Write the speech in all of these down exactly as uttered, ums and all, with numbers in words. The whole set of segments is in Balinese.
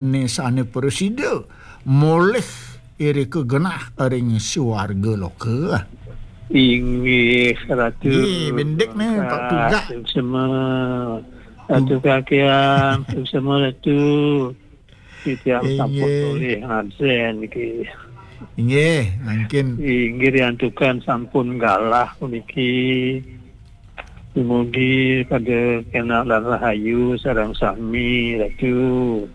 Ni sane prasida molih irika genah ring suarga loka. Inggih, Ratu. Nggih, bendik ni, Pak Tugak. Suksma. Ratu Kakian, suksma Ratu. Titiang sampun Inggih. Polih ngabsen niki. Inggih, mangkin. Inggih, riantukan sampun galah puniki. Dumugi pada kenak lan rahayu sareng sami, Ratu.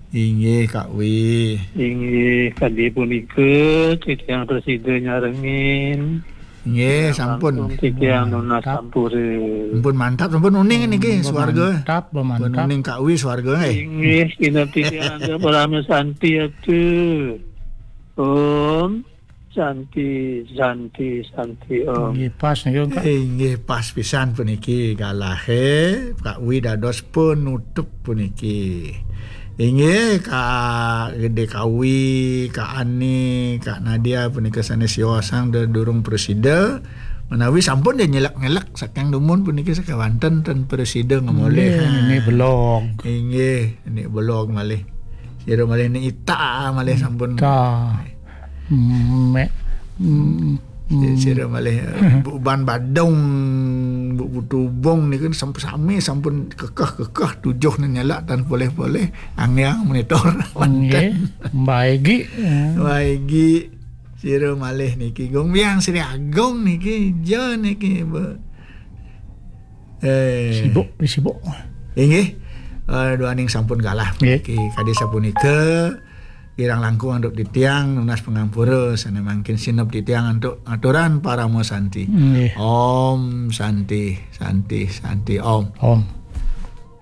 Inggih, Kak Wi. Inggih, kadi punika titiang prasida nyarengin. Inggih, sampun. Langkung titiang nunas sampura. Sampun mantap, sampun uning niki, suarga. Mantap, mantap. Sampun uning, Kak Wi, suarga, eh. Inggih, inep titiang antuk Parama Santi, Ratu. Om Santi, Santi, Santi, Om. Inggih, pas niki, Kak. Inggih, pas pisan puniki galahe, Kak Wi dados penutup puniki. Inggih, Kak Gede Kawi, Kak Ani, Kak Nadia punika sane siosang da-, durung prasida. Menawi sampun da nyelek-nyelek saking dumun puniki sakawanten ten prasida ngemolih. Inggih, nini belog. Inggih, nini belog malih. Sira malih nini ita malih sampun. Ita. Mm, me-, mm, mm. Sira malih, eh, Bu Ban Badung, Bu Putu Bong niku samp-, sami sampun kekeh-kekeh tujuh nyelak tan polih-polih. Angiang monitor. Nggih, Mbak Egi. Ya. Mbak Egi, sira malih niki. Gung Biang Sri Agung niki, ja niki, Bu. Eh. Sibuk, sibuk. Inggih. Eh, duaning sampun galah. Nggih. Niki, kadi sapunika, kirang langkung antuk titiang nunas pangampura, sane mangkin sineb titiang antuk aturan Parama Santi. Nggih. Om Santi, Santi, Santi, Om. Om.